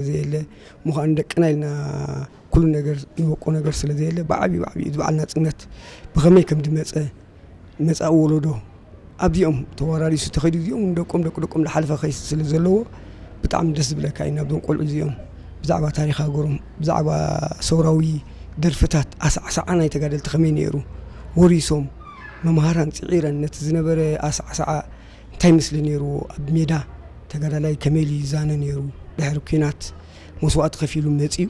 ዘየለ ምዃን ደቅና ኢልና ኩሉ ነገር ንወቆ ነገር ስለ ዘየለ ብዓብዩ ብዓብዩ እዚ በዓል ናፅነት ብኸመይ ከም ዝመፀ መፃኢ ወለዶ ኣብዚኦም ተወራሪሱ ተኸይዱ እዚኦም ንደቆም ደቂ ደቆም ዝሓለፈ ከይስ ስለ ዘለዎ ብጣዕሚ ደስ ዝብለካ እዩ። ናብዞም ቆልዑ እዚኦም ብዛዕባ ታሪክ ሃገሮም ብዛዕባ ሰውራዊ ደርፍታት ኣሳዕሳዓ ናይ ተጋደልቲ ከመይ ነይሩ ወሪሶም መምሃራን ፅዒረን ነቲ ዝነበረ ኣሳዕሳዓ እንታይ ምስሊ ነይርዎ ኣብ ሜዳ ተጋዳላይ ከመይ ኢሉ ይዛነ ነይሩ ድሕሪ ኲናት መስዋእቲ ከፊሉ መፅዩ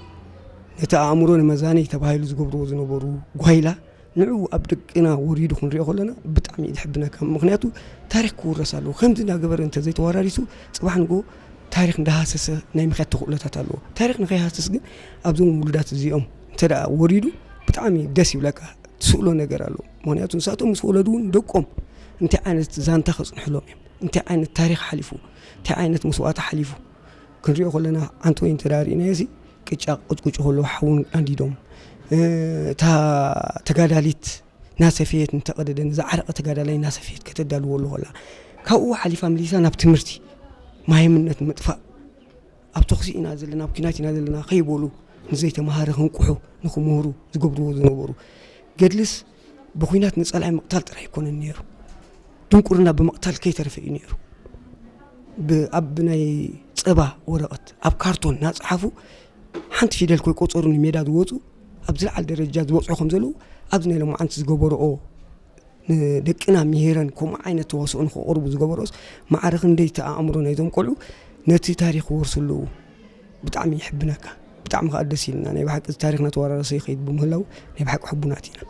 ነቲ ኣእምሮ ንመዛነይ ተባሂሉ ዝገብርዎ ዝነበሩ ጓይላ ንዑ ኣብ ደቅና ወሪዱ ክንሪኦ ከለና ብጣዕሚ እዩ ዝሕብነካ። ምክንያቱ ታሪክ ክውረስ ኣለዎ። ከምዚ እንዳገበረ እንተ ዘይተወራሪሱ ፅባሕ ንጎ ታሪክ እንዳሃሰሰ ናይ ምክያድ ተኽእሎታት ኣለዎ። ታሪክ ንከይሃስስ ግን ኣብዞም ውሉዳት እዚኦም እንተ ደኣ ወሪዱ ብጣዕሚ ደስ ይብለካ። ትስእሎ ነገር ኣሎ። ምክንያቱ ንሳቶም ምስ ወለዱ እውን ደቆም እንታይ ዓይነት ዛንታ ከፅንሕሎም እዮም፣ እንታይ ዓይነት ታሪክ ሓሊፉ፣ እንታይ ዓይነት መስዋእቲ ሓሊፉ ክንሪኦ ከለና ሓንቲ ወይ እንተ ርኢናዮ ሲ ቅጫ ቅጭቁጭ ከሎ ሓውን ኣንዲዶም እታ ተጋዳሊት ናሰፈየት እንተቐደደ ንዝዓረቐ ተጋዳላይ ናሰፈየት ከተዳልዎ ኣሎ ከላ ካብኡ ሓሊፋ መሊሳ ናብ ትምህርቲ ማይምነት ምጥፋእ ኣብ ተኽሲ ኢና ዘለና ኣብ ኪናት ኢና ዘለና ከይበሉ ንዘይተምሃረ ክንቁሑ ንክምህሩ ዝገብርዎ ዝነበሩ ገድልስ ብኩናት ንፀላኢ ምቕታል ጥራይ ኣይኮነን ነይሩ። ድንቁርና ብምቕታል ከይተረፈ እዩ ነይሩ። ኣብ ናይ ፀባ ወረቐት ኣብ ካርቶን እናፀሓፉ ሓንቲ ፊደል ከይቆፀሩ ንሜዳ ዝወፁ ኣብ ዝለዓለ ደረጃ ዝበፅሑ ከም ዘለዉ ኣብዚ ናይ ሎማዓንቲ ዝገበርኦ ንደቅና ምሂረን ከምኡ ዓይነት ተዋስኦ ንክቐርቡ ዝገበርኦስ ማዕረ ክንደይ እቲ ኣእምሮ ናይዞም ቆልዑ ነቲ ታሪክ ክወርሱ ኣለዉ። ብጣዕሚ ይሕብነካ። ብጣዕሚ ከዓ ደስ ኢልና ናይ ብሓቂ እዚ ታሪክና ተወራረሰ ይኸይድ ብምህላው ናይ ብሓቂ ሕቡናት ኢና።